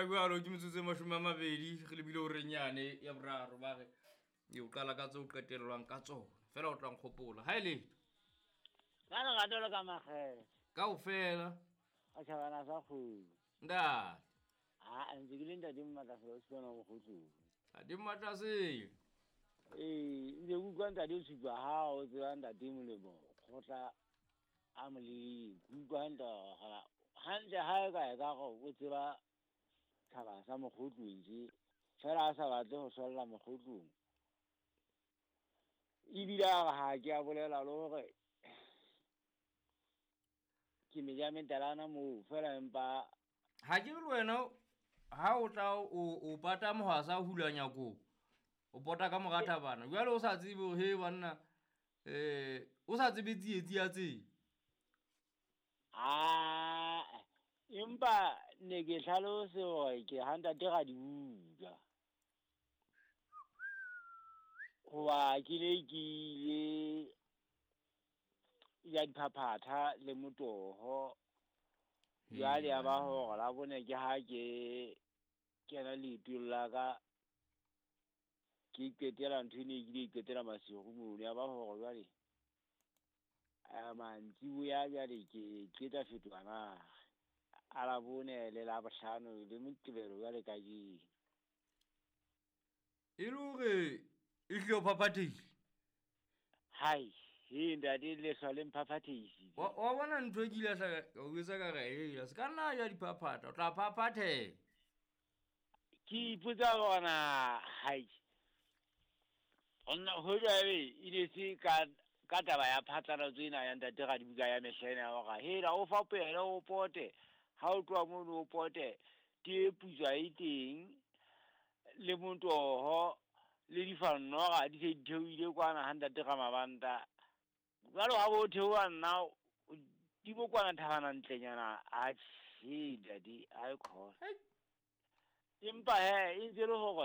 Fela jalo ke metsotso e 20 re lebile horeng yane ya boraro ba re e o qala ka tse o qetellwang ka tsona fela o tlang kgopola ha e letho Ka lerato le ka makgethe. Kaofela. A tjhabana sa kgomo. Ntate. Ha ntse ke le ntate Mmatlasela o Sibana Mokgotlong. Ntate Mmatlasela. Ee, ntse ke utlwa ntate o supa ha o tseba ntate Molemo kgotla a moleng. Ke utlwa hantle hore hantle ha e ka e ka re o tseba tjhaba sa Mokgotlong tje. Fela a sa batle ho solla Mokgotlong. Ebile a re ha ke a bolela le hore ke meja metalana moo fela empa ha ke le wena ha o tla o pata mohwasa hula nyako o pota ka mora thabana jwale o sa tsebe hore he banna o sa tsebe tsietsi ya tsela. Ah, empa ne ke hlalose hore ke ha ntate ra di bua. Hoba ke ne ke ile ya diphaphatha le motoho. Jwale ya ba hore la bone ke ha ke kena leetong la ka ke qetela ntho e ne ke ile qetela masigo mono. Ya ba hore jwale mantsiboya jwale ke qeta fetoha na a la bone le la bohlano le Moqebelo jwale kajeno. E le hore e hlile o phaphathehile? Hai, he ntate lehlwa le mphaphathehisitse. Wa bona ntho e ke ile hlaka ka o jwetsa ka re, hela, se ka nna ja diphaphatha, o tla phaphatheha. Ke ipotsa hore na, hai, ho jwabe e ne se ka taba ya phatlalatso ena ya ntate Radibuka ya mehla ena ya hore, hela, o fapohele o pote, ha o tloha mono o pote, tee putswa e teng, le motoho, le difannoga di se di theohile kwana ha ntate Ramabanta. Jwale ha bo theoha nna, di bo kwana thabana ntlenyana, atjhe, ntate, ha e khona. Empa he, e ntse le hore